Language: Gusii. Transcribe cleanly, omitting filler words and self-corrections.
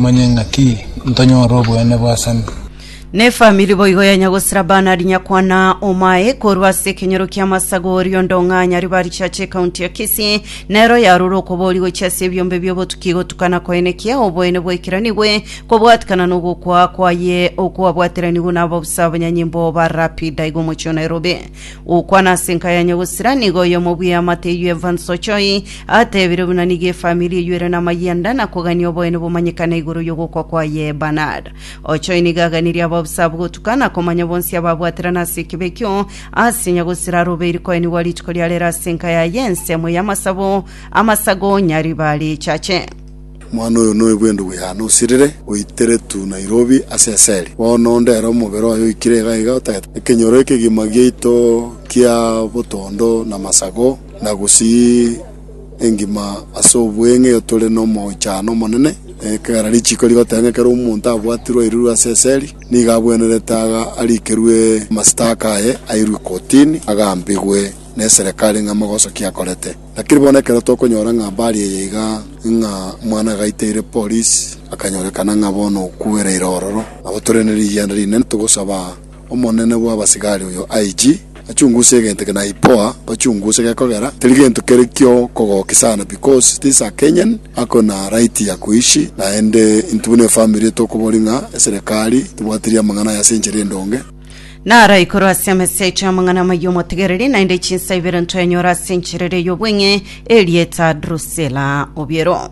Manye ng'aki ntonyore oboene bwa Sami. Nefamiri boigo ya Nyagosira Bernard Nyakwana Omae korwa ase ekenyoro kia Masago Riondong'a Nyaribari Church ekaunti ya Kisii nero yarure okobori gochia ase ebiombe biobotuki gotukana koenekia oboene bwaikeranigwe kobwatikana nogokwa kwaye okwabwateranigwe na ababusa abanyanyimbo ba Rapid aiga omochie o Nairobi. Gokwana ase enka ya Nyagosira nigo oyomo bw'eamate eyio Evans Ochoi Atebire buna nigo efamiri eyio ere namayianda na kogania oboene bomanyekane igoro y'ogokwa kwaye Bernard. Ochoi nigo aganirie abaofisa abwo gotuka na komanya bonsi ababwaterana ase ekibe ekio ase nyagosira arobeiri koenigwa rituko ria rero ase enka yaye ensemo y'amasabo amasago Nyaribari Chache. Omwana oyo noyo bw'endugu yane osirire, oiteretwe Nairobi ase eseri. Bono onde ere omobere oye oikire iga iga otagete ekenyoro ekegima giaito kia botondo na masago. Na gusii engima ase obweng'e tore nomoichano omonene, ekegera richiiko rigoteba ng'a ekero omonto abwatirwe airirwe ase eseri, nigo abwenerete aga arikerwe amasitaka aye airwe kotini, agambigwe neserekari ng'a magoso ki akorete. Lakini bono ekero tokonyora ng'a habari eye iga ng'a omwana agaiteire polisi, akanyorekana ng'a bono okwereire ororo, nabo tore ne rigianda rinene togosaba Omonene bw'abasigari oyo IG, achunguse egento eke na IPOA bachunguse gekogera teri gento kere kiokogokia sana because this a Kenyan ako na right ya kuishi naende intwe buna efamiri tokobori ng'a eserekari tobwatirie amang'ana aya ase enchera endonge. Naro igoro ase emesecho y'amang'ana amayia omotegereri, naende chinsa ibere ntoyanyore ase enchera ere y'obweng'e, erieta Drusilla Obiero.